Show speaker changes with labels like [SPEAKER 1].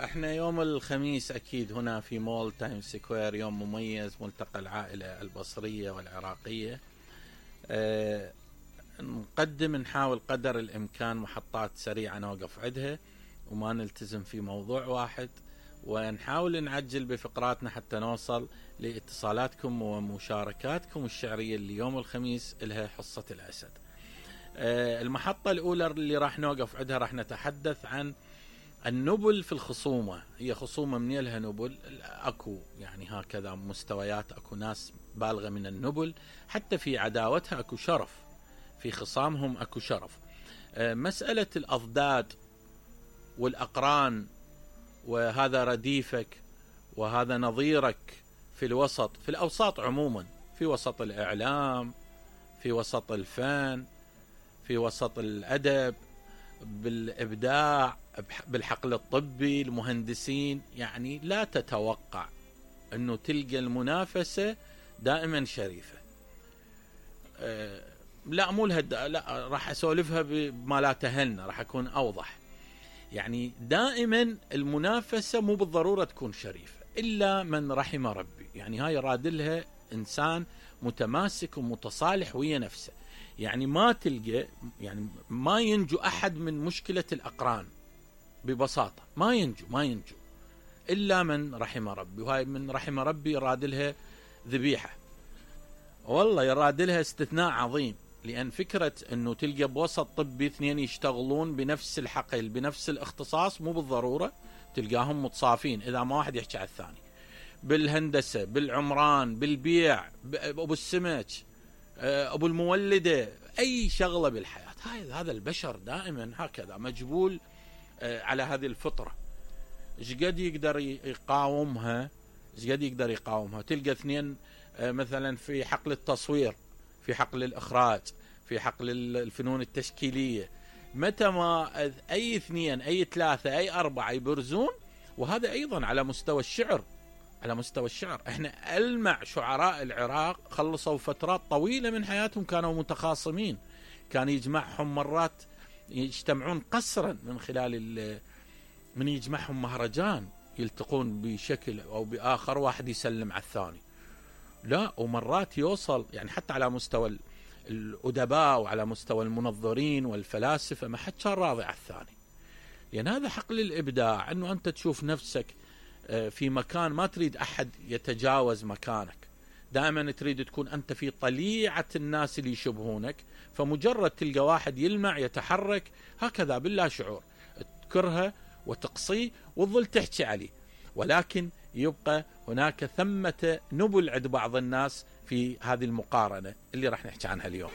[SPEAKER 1] احنا يوم الخميس اكيد هنا في مول تايم سكوير يوم مميز، ملتقى العائلة البصرية والعراقية. نحاول قدر الامكان محطات سريعة نوقف عندها وما نلتزم في موضوع واحد، ونحاول نعجل بفقراتنا حتى نوصل لاتصالاتكم ومشاركاتكم الشعرية اللي يوم الخميس لها حصة الأسد. المحطة الأولى اللي راح نوقف عندها راح نتحدث عن النبل في الخصومة. هي خصومة من لها نبل، أكو يعني هكذا مستويات، أكو ناس بالغة من النبل، حتى في عداوتها أكو شرف، في خصامهم أكو شرف. مسألة الأضداد والأقران، وهذا رديفك وهذا نظيرك في الوسط، في الأوساط عموما، في وسط الإعلام، في وسط الفن، في وسط الأدب، بالإبداع، بالحقل الطبي، المهندسين، يعني لا تتوقع أنه تلقى المنافسة دائما شريفة. لا مو لا راح أسولفها بما لا تهلنا، راح أكون أوضح. يعني دائما المنافسة مو بالضرورة تكون شريفة إلا من رحم ربي. يعني هاي رادلها إنسان متماسك ومتصالح ويا نفسه. يعني ما تلقى، يعني ما ينجو أحد من مشكلة الأقران ببساطة، ما ينجو إلا من رحم ربي. وهاي من رحم ربي يرادلها ذبيحة، والله يرادلها استثناء عظيم. لأن فكرة أنه تلقى بوسط طبي اثنين يشتغلون بنفس الحقل بنفس الاختصاص مو بالضرورة تلقاهم متصافين إذا ما واحد يحكي على الثاني. بالهندسة، بالعمران، بالبيع، أبو السمك، أبو المولدة، أي شغلة بالحياة. هذا البشر دائما هكذا مجبول على هذه الفطرة. إيش قد يقدر يقاومها، تلقى اثنين مثلا في حقل التصوير، في حقل الإخراج، في حقل الفنون التشكيلية، متى ما أي اثنين، أي ثلاثة، أي أربعة يبرزون. وهذا أيضا على مستوى الشعر. احنا ألمع شعراء العراق خلصوا فترات طويلة من حياتهم كانوا متخاصمين، كان يجمعهم مرات يجتمعون قسرا من خلال من يجمعهم مهرجان، يلتقون بشكل أو بآخر، واحد يسلم على الثاني. لا، ومرات يوصل يعني حتى على مستوى الأدباء وعلى مستوى المنظرين والفلاسفة ما حد كان راضي على الثاني. لأن هذا حقل الإبداع، أنه أنت تشوف نفسك في مكان ما تريد أحد يتجاوز مكانك، دائما تريد تكون أنت في طليعة الناس اللي يشبهونك. فمجرد تلقى واحد يلمع يتحرك هكذا باللا شعور تكرهه وتقصيه وتظل تحكي عليه، ولكن يبقى هناك ثمة نبل عند بعض الناس في هذه المقارنة اللي راح نحكي عنها اليوم.